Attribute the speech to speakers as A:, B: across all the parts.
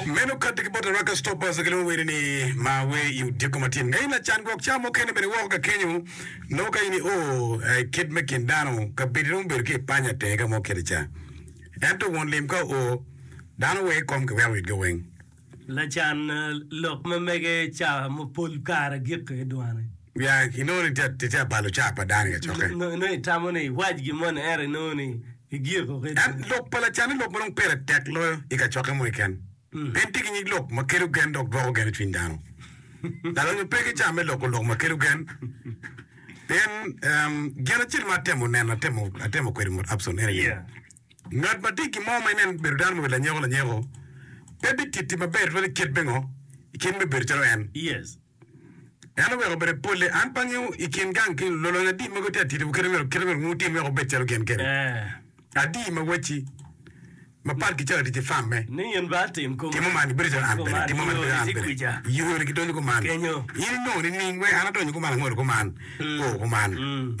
A: Meno kati ki bot Araka Stoppers gilwongo wene ni ma wer i odiko matin. Nga in lacan gwok ca mukene bene woko ka kenyo nongo ka in io i kit me kin dano kabedo romo bedo ki i panya tenge ka mo kiti ca. Ento won lim ka oo dano weng i kom kiweko itgi weng.
B: Lacan lok ma mege ca ma pol kare giko i dwane.
A: Ya inongo ni itye abalo ca pa dano i kacokke.
B: Nongo itamo ni iwac gin moni ento inongo ni igiko ki
A: En lok pa lacan-ni lok ma dong pire tek loyo i kacokke mo keken. En tye ki nyig lok ma kelo gen dok dwoko gen i cwiny dano. Lalonyo pe ki ca me loko lok ma kelo gen. Pien gin acel ma atemo neno, atemo kwede mot Abson en aye ni, ngat ma tye ki gin mo ma inen bedo dano ma obedo lanyeko lanyeko pe bititti maber tutwal i kit me ngo? I kit me bedo calo en. En oweko bene polle, an pe angeyo i kin gang ki lulony adi ma gitye atidi kite myero kite myero wutim wek wubed calo gin kede. Adi ma wacci mapat ki calo tic i farm me
B: Ni in ba atim kuman.
A: Timo man ibedo calo an bene,
B: Kuman,
A: timo man ibedo
B: yo
A: an
B: iti
A: bene.
B: kwica.
A: Yoni gidonyo kuman.
B: Kenyo.
A: In inongo nining wek an adonyo kuman angolo kuman, oo kuman.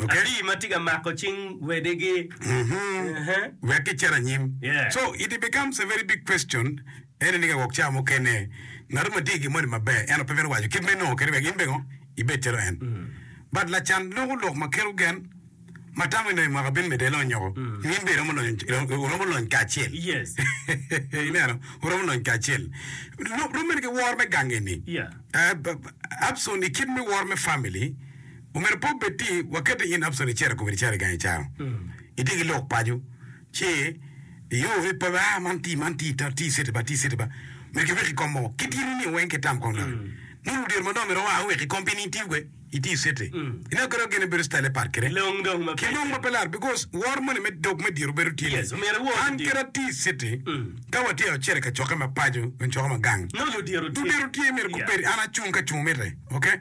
A: Ok?
B: Adi ma tye ka mako cing wedigi.
A: Mhm.
B: Ehe.
A: Wek gicit anyim.
B: Yeah.
A: So it becomes a very big question Ento ni ka gwok cawa mukene ngat ma tye ki gin moni maber ento pe mito waco kit ma inongo kwede wek in bene ibed calo en. But lacan loko lok ma keto gen ma tamo ni dong i mwaka bino medde elony oko nyo in bene iromo lonyo wuromo lony kacel. Ineno wuromo lony kacel. Rom mene ki woro me gang eni. Abson i kit me woro me family omyero pe obed ti wakete in Abson icito kome icito i gang icaro itye ki lok paco. Ci iyo ni pe aa man ti man ti ta ti citi ba ti citi ba myero ki wek i kom mogo ki tiri ni weng ki tam kong doki nongo ludito madongo myero oa owek i kom pi ni itiyo kwe iti citi ineno kadi gin bedo style pat kede
B: Long dong ma
A: ki long ma pe lar because woro moni me dog me diro bedo tye ni
B: Yes, omyero iwor
A: an
B: diro.
A: kadi ati citi ka watye acel i kacokke ma paco nyo cokke ma gang
B: Nongo ludiro tye.
A: ludiro tye myero
B: Yeah.
A: gubed an acung ka cung mitte okay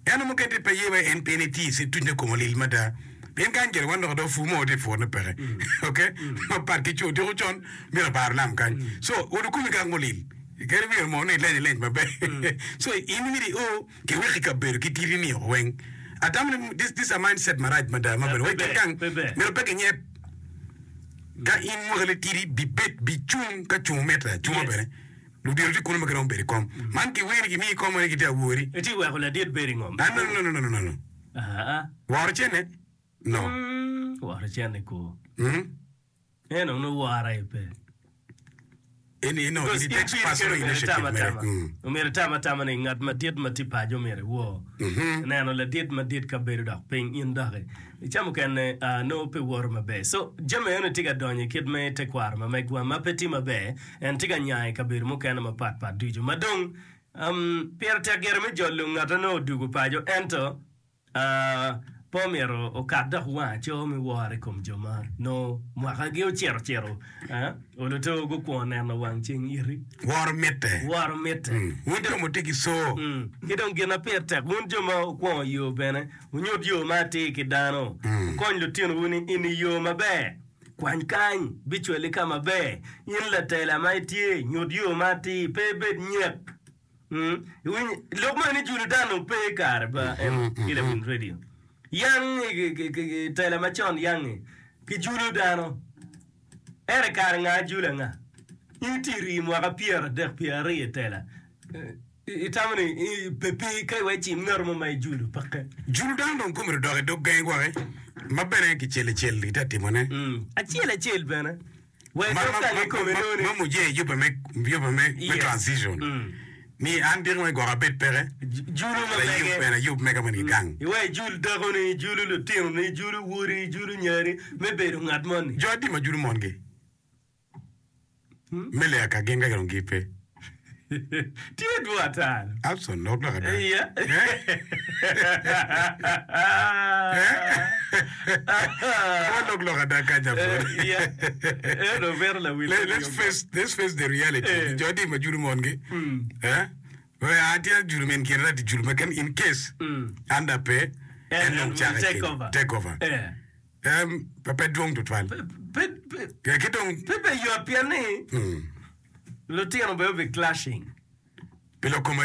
A: Ento mukene tye pe ye wai en pien etye i cit tucne kome olil mada. Pien kany gire wan dok do pur mo tye purne peke. Ok? Mapat ki co odiko con myero abaro lam kany. So olo komi kak mulil. Kadi myero mo ni ileny ileny maber. So in myero i o ki weki kabedo ki titi ni weng. Atamo ni this this a mind set marac mada ma bedo wai kin gang myero pe kinyeb. Ka in mwaka ni tidi bi bed bi cung ka cung mitte acunga bene. Ludito tye kunu ma giromo bedo i kom. Man kiweri gimiyi kom ma ni gitye awori.
B: Itye weko ladit bedo i ngom.
A: Ah, no, no, no, no, no, no.
B: Ah.
A: Woro cene? No.
B: Mm, woro cene ku.
A: Mm.
B: En onongo woro aye pe.
A: Eni no,
B: Because
A: it
B: in
A: takes
B: piri
A: personal
B: kene myero
A: initiative
B: itam
A: mere.
B: atama.
A: Mm.
B: Omyero itam atama ni ngat madit ma tye paco omyero iwor.
A: Mhm.
B: Neno ladit madit ka bedo dok piny in doki. I ca mukene ah, nongo pe woto maber. So jami eno tye ka donyo i kit me tekwaro ma megwa ma pe tye maber. En tye ka nya i kabedo mukene mapat pat ducu. Ma dong, pire tek gire me jolo ngat ma nongo odwogo paco, ento pe omyero okat dok wang aco me woro i kom jo ma nongo mwakagi ocito cito oluto gukwongo neno wang ceng iti.
A: Woro mitte.
B: Woro mitte.
A: Wun jo ma wutye ki co.
B: Ki dong gin ma pire tek, wun jo ma wukwongo yo bene, wunyut yo ma atir ki dano. Wukony lutinowu ni eni yo maber. Kwany kany, bicwali ka maber. In latela ma itye, nyut yo ma atir, pe ibed nyek. Iwinyo, lok ma ni julo dano pe i kare pa en ki lawiny radio. Yang i tela macon yang-ngi, kijulo dano. Ento i kare nga julo anga? In itye rii mwaka pyeradek pyeraryo i tela. Itamo ni pe pi ka iwec cim ngat mo ma ijulo peke.
A: Julu dano dong kome odok i dog gangi gwaki ma bene kicel icel kitye ka timone.
B: Acel acel bene wa i dog gang kikome nongo ni.
A: Ma muje yubbe me transition ni an diki mo igwoko abed peke.
B: Julu ma mege.
A: Bene ayub mega moni ki gang.
B: Iwek ijul dakoni, ijulu lutinoni, ijulu wodi, ijulu nyari me bedo ngat moni.
A: Jo adi ma julu mongi? Me leya ka gin ka gin gipe.
B: Tye dwong ata.
A: Abson lok lok ada.
B: Iya.
A: Wa lok lok ada kany Abson.
B: Iya. Eno bedo lawil.
A: Let's face let's face the reality. Jo adi ma judo mongi. Eh? We atye judo min kine ati judo ma ken in case an da pe en dong cake
B: Take over.
A: Take over.
B: Eh.
A: Pe pe dwong tutwal.
B: Pe pe
A: Ki dong
B: pe be yot pien ni lutino bene obi clashing.
A: Pi lok kom.